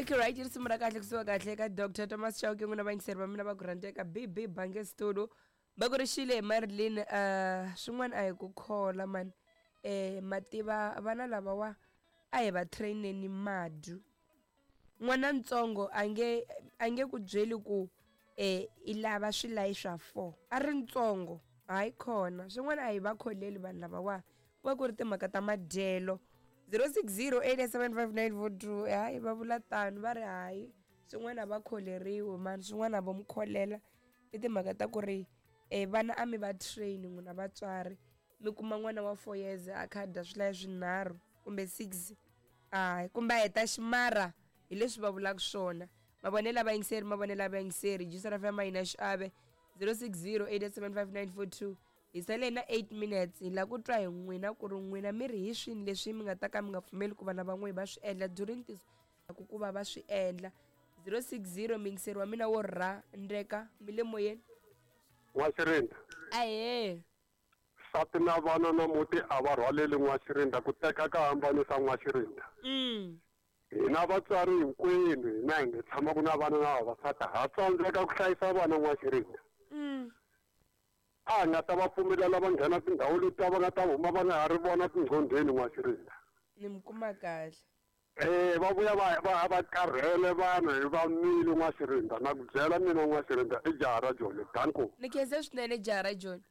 Okay, right, risimu ra kahle kusuka kahle ka Dr Thomas Chauke. N'wina vayingiseri va mina va ku rhandzeka BB Bange Studio va ku rixile hi Marilyn. Swin'wana a hi ku khola mani, mativa vana lavawa a hi va traineni madu. N'wana ntsongo a nge ku byeli ku i lava swilayi swa 4 a ri ntsongo. Hayi khona swin'wana a hi va kholeli vanhu lavawa, ku va ku ri timhaka ta madyelo. 0608755942. Hayi, va vula tano, va ri hayi, swin'wana a va kholeriwi mani, swin'wana a vo mi kholela. I timhaka ta ku ri vana a mi va train n'wina vatswari. Mi kuma n'wana wa 4 years a kha a dya swilayi swinharhu kumbe 6, hayi, kumbe a heta ximara. Hi leswi va vulaka swona. Mavonelo a vayingiseri, mavonelo a vayingiseri. Juice FM yi na xiave. 0608755942. Hi sale na 8 minutes. Hi lava ku twa hi n'wina ku ri n'wina mi ri hi swini leswi mi nga ta ka mi nga pfumeli ku vana va n'wina va swi endla during this ku va va swi endla. 060, muyingiseri wa mina wo rhandzeka, mi le moyeni. N'waxirinda. Ahee. Nsati na vana na muti a va rhwaleli, N'waxirinda. Ku teka ka hambanisa, N'waxirinda. Hina vatswari hinkwenu, hina hi nga tshamaka na vana na vavasati, ha tsandzeka ku hlayisa vana, N'waxirinda. A hi nga ta va pfumelela va nghena tindhawu letiya, va nga ta huma va nga ha ri vona tinqhondheni, N'waxirinda. Ni mi kuma kahle. Va vuya va karhele vanhu hi va nwile, N'waxirinda. Na ku byela mina, N'waxirinda, i jaha ra Joni. Danko. Ni khense swinene, jaha ra Joni.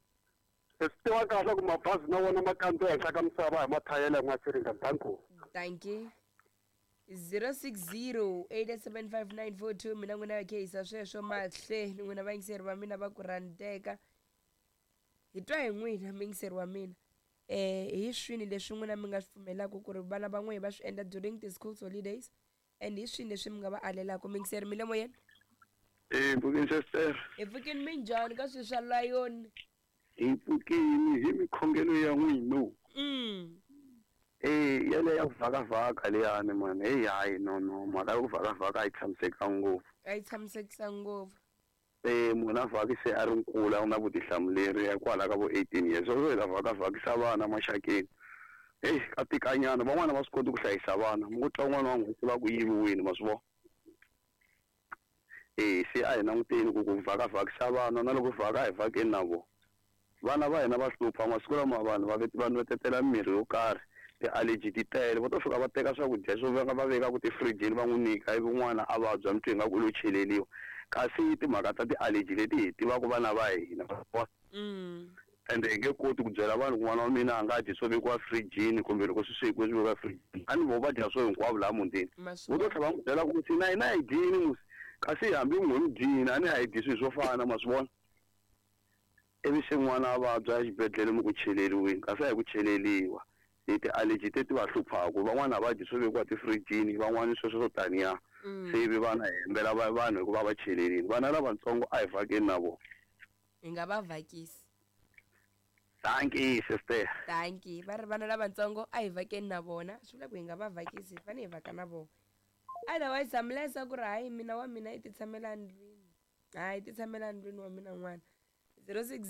I swi tiva kahle ku mabazi na wona ma kandziya henhla ka misava hi mathayela, N'waxirinda. Danko. Thank you. 0608755942. Mina n'wina ya khehisa sweswo mahle ni n'wina vayingiseri va mina va ku rhandzeka. Hi twa hi n'wina, muyingiseri wa mina, hi swini leswi n'wina mi nga swi pfumelaka ku ri vana va n'wina va swi endla during the school holidays, and hi swini leswi mi nga va alelaka? Muyingiseri, mi le moyeni. Eh, mpfukeni, sister. Hi pfukini, minjhani ka swilo swa layoni? Hi pfukini hi mikhongelo ya n'wina. Eh, yale ya ku vhakavhaka leyani mani, heyi, hayi, no no, mhaka ya ku vhakavhaka a yi tshamisekanga ngopfu. A yi tshamisekisa ngopfu. Eh, munhu a vhaki se a ri nkulu, a wu na vutihlamuleri ya kwala ka vo 18 years, sweswo hi ta vhakavhakisa vana maxakeni, heyi, ka tikanyana. Van'wana va swi koti ku hlayisa vana, mi ku twa un'wana wa n'hweti va ku yiviwile, ma swi vona. Eh, se a hi languteni ku vhakavhakisa vana, na loko vhaka, a hi vhakeni na vona vana va hina. Va hlupha masiku lama, vanhu va va nwetetela mirhi yo karhi, ti-allergy ti tele. Va to fika va teka swakudya swo veka, va vekaku tifirijini, va n'wi nyika, ivi n'wana a vabya, mi twa ingaku u lo cheleliwa, kasi timhaka ta ti-allergy leti hi tivaka vana va hina. Ende hi nge koti ku byela vanhu ku n'wana wa mina a nga dyi swo vekiwa firijini, kumbe loko swi swekiwe swi vekiwa firijini. A ni vo va dya swo hinkwavo laha mutini. Vo to tlhela va n'wi byela ku musi na hina hi dyini musi, kasi hambi n'we mi dyini, a ni a hi dyi swilo swo fana, ma swi vona. Ivi se n'wana a vabya exibedhlele, mi ku cheleriwini, kasi a hi ku cheleliwa, hi ti-allergy teti va hluphaku. Van'wana a va dyi swo vekiwa tifirijini, van'wana sweswo swo taniya. Se ivi vana hi hembela vanhu hikuva va chelelini. Vana lavatsongo a hi vhakeni na vona. Hi nga va vhakisi. Dankie, sister. Dankie. Va ri vana lavatsongo a hi vhakeni na vona, swi vula ku hi nga va vhakisi, hi fanele hi vhaka na vona. Otherwise hambilesa ku ri hayi, mina wa mina i ti tshamela ndlwini, hayi, ti tshamela ndlwini wa mina n'wana. 06.